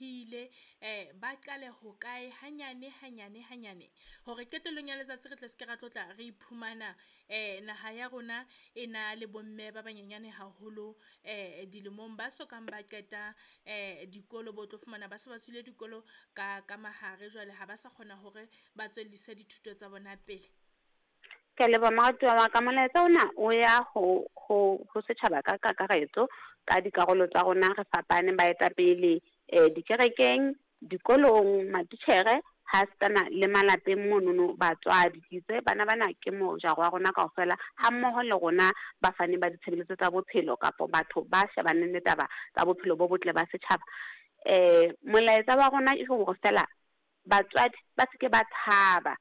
hlomphehile. Ba qale hokae hanyane hanyane hanyane hore qetellong ya letsatsi re tle se ke ra tlotla re iphumana naha ya rona e na le bomme ba banyenyane haholo dilemong ba sokang ba qeta dikolo bo tlo fumana ba se ba tswile dikolo ka mahare jwale ha ba sa kgona hore ba tswellise dithuto tsa bona pele. Ke a leboha moratuwa wa ka. Molaetsa ona o ya ho setjhaba ka kakaretso ka dikarolo tsa rona re fapane baetapele dikerekeng, dikolong, matitjhere ha sitana le malapeng monono batswadi. Ke itse bana bana ke mojaro wa rona kaofela ha mmoho le rona bafani ba ditshebeletso tsa bophelo kapa batho ba shebaneng le taba tsa bophelo bo botle ba setjhaba. Molaetsa wa rona ke hore fela batswadi ba seke ba tshaba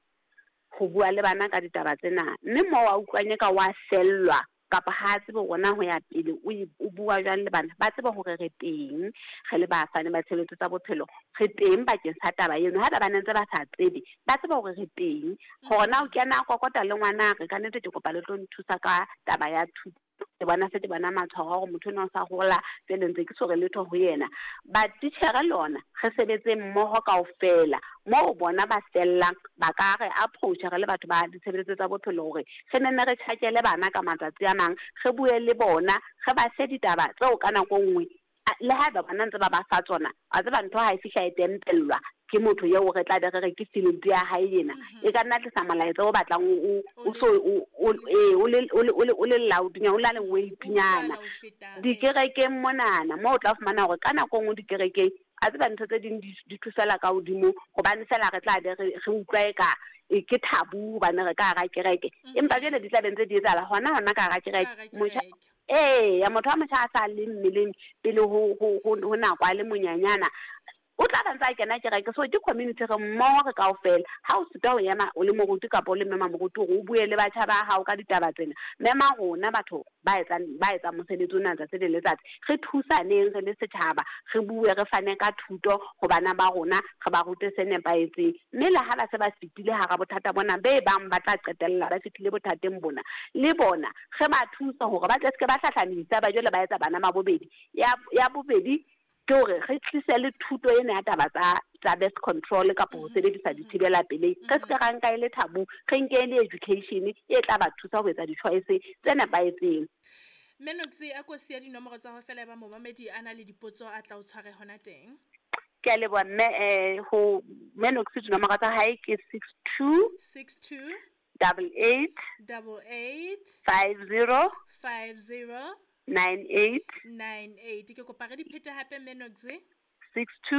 ho bua le bana ka ditaba tsena, mme moo wa utlwang eka wa fellwa kapa ha tsebe hore na ho ya pele o bua jwang le bana, ba tsebe hore re teng re le bafani ba tshebeletso tsa bophelo, re teng bakeng sa taba eno. Haeba ba ne ntse ba sa tsebe, ba tsebe hore re teng. Hore na o kena kokota le ngwana re ka nnete ke kopa le tlo nthusa ka taba ya thuto. Ke bona se ke bona matshwao a hore motho enwa o sa hola, jwale ntse ke so re letho ho yena. Batitjhere le ona re sebetse mmoho kaofela moo bona ba fellang ba ka re approach re le batho ba ditshebeletso tsa bophelo hore re nenne re tjhakele bana ka matsatsi a mang, re bue le bona, re ba fe ditaba tseo ka nako e nngwe le haeba bona ntse ba ba fa tsona, wa tseba ntho ha e fihla e tempellwa ke motho eo re tla be re re ke field ya hae ena. E ka nna tlisa molaetsa o batlang o so o le loud nyana, o na le weight-nyana. Dikerekeng monana moo o tla fumana hore ka nako e nngwe dikerekeng a tseba ntho tse ding di thusela ka hodimo hobane fela re tla be re utlwa eka ke taboo hobane re ka hara kereke. Empa jwale di tla be ntse di etsahala hona ka hara kereke. Motjha ya motho wa motjha a sa le mmeleng pele ho nako a le monyanyana, o tla ba ntse a kena kereke. So ke community re mmoho re kaofela. Ha o sitwa ho ema o le moruti kapa o le mme mamoruti hore o bue le batjha ba hao ka ditaba tsena, mema rona batho ba etsang mosebetsi ona letsatsi le letsatsi, re thusaneng re le setjhaba, re bue re fane ka thuto ho bana ba rona, re ba rute se nepahetseng. Mme le ha ba se ba fetile hara bothata bona be bang ba tla qetella ba fetile bothateng bona, le bona re ba thusa hore ba tle se ke ba hlahlamisa ba jwale ba etsa bana ba bobedi. Ya bobedi ke hore re tlise le thuto ena ya taba tsa birth control kapa ho sebedisa dithibela pelei. Re se ke ra nka e le taboo, re nke e le education e tla ba thusa ho etsa di-choice tse nepahetseng. Mme Noksi, a ko siya dinomoro tsa hao fela e ba momamedi a na le dipotso a tla o tshware hona teng. Ke a leboha mme, ho Mme Noksi dinomoro tsa hae ke 62 62 88 88 50 50 98 98. Ke kopa re di phete hape Mme Noksi. 62